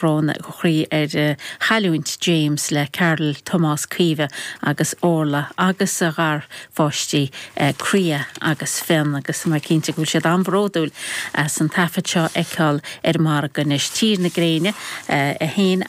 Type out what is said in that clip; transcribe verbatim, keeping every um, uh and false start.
Brón ó chroí ar uh, chailliúint James le Carol Tomás Caoimhe agus Orla agus a gharpháistí uh, Cria agus Fionn agus mar cinnte go bhfuil siad an-bhródúil as an taifead seo a fheiceáil ar margadh anois Tír na Gréine uh, a haon